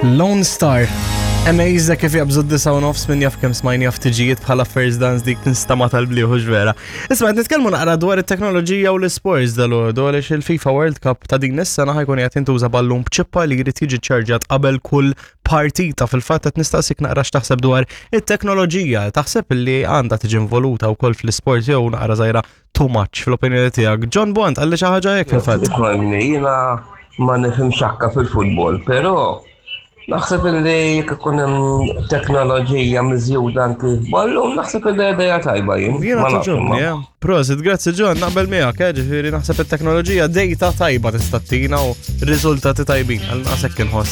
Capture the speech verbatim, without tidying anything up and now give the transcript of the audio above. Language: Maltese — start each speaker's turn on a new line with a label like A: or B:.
A: Lone Star. Amazed kif jabżu d-disa u nofs, minn jaf kemm smajni jaf tiġijiet bħala first dance dik tinstama tal-bliħu vera. Isma', qed nitkellmu naqra dwar it-teknoloġija u l-sports dal-għodu għaliex il-FIFA World Cup ta' din is-sena ħa jkun qed jintuża ballun b'ċippa li jrid jiġi ċarġat qabel kull partita. Fil-fatt qed nistaqsik naqra x'taħseb dwar it-teknoloġija. Taħseb li għandha tiġi involuta wkoll fl-isport jew naqra żgħira too much fl-opinjoni tiegħek? John Bond qalli xi ħaġa hekk fil-fatt.
B: Ismagħni, jiena ma nifhem xakka fil-futbol, però naħseb li jekk ikun hemm teknoloġija miżjuda anki f'ballun, naħseb li idea tajba jien.
A: Jiena
B: Ma nafx
A: togħġobni,
B: imma.
A: eh. Prosit, grazzi John, naqbel miegħek, eh, ġifieri naħseb it-teknoloġija data tajba tista' ttina u riżultati tajbin, għal naqsek inħoss.